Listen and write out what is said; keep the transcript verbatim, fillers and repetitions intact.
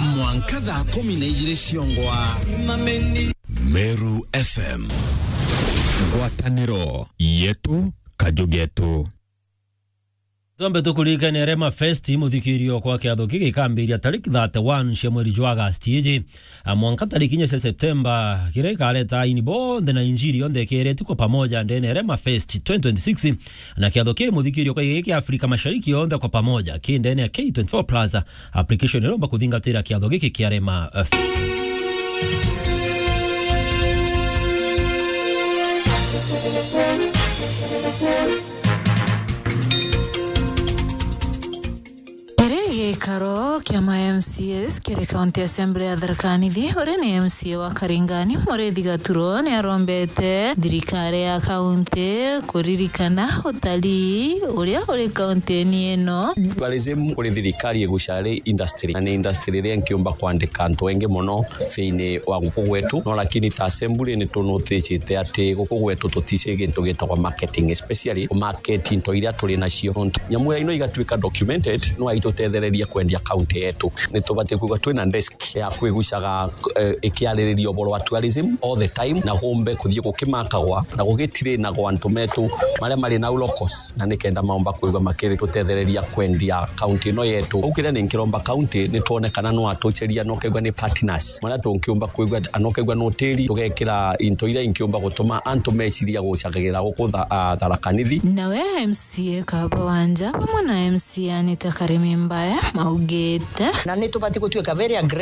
Mwanka thaa kumi na ijiri ciongwa. Meru F M. Ngwataniro yetu, kaju getu. Twambe tukuririkanie Rema Fest, muthikirio kwa kiatho giki gikambiria tariki thirty-one cia mweri jwa Agosti iji, a, mwanka tariki inya cia Septemba, kiria gikareta aini bonthe na injiri yonthe ikiretue kwa pamoja ndene ya Rema Fest twenty twenty-six. Na kiatho kii muthikirio kwa giki kia Afrika Mashariki yonthe kwa pamoja ki ndene ya K twenty-four Plus. Application iromba kuthingatira kiatho giki kia Rema, eh, Fest. Kiri gikaro kia ma M C As kiri County Assembly ya Tharaka Nithi, uria ni M C A wa Karingani, Muriithi Gaturo, ni arombete thirikari ya kaunti kuririkana utalii uria uri kaunti-ini ino. Tourism kuri thirikari igucaga ri industry, na ni industry iria nkiumba kwandika antu engi mono thiini wa guku gwetu. No lakini ta assembly ni tunutijite ati guku gwetu tutici gintu gitagwa marketing, especially ku market into iria turi nacio. Nontu nyamu iria ino igatuika documented, no aitutethereria kwendia county yetu. Ni tubati kwigua twina desk ya kwigucaga, eh, ikiaririria uboro wa tourism all the time, na gumbe kuthii gukimakagwa na gugitirainagwa antu metu maria mari nau locals, na nikenda maumba kwigua makiritutethereria kwendia county ino yetu. Uu kiria ni nkiromba county ni twone kana no atuceria, no kegua ni partners maria tunkiumba kwigua, ano kegua no tiri tugekira into iria inkiumba gutuma antu meciria gucagagira guku Tha-, ah, Tharaka Nithi. Nawe M C A Kaba Wanja bamwe na M C A Anita Karimi Mbaya maugite. Na ni tubati gutuika very aggressive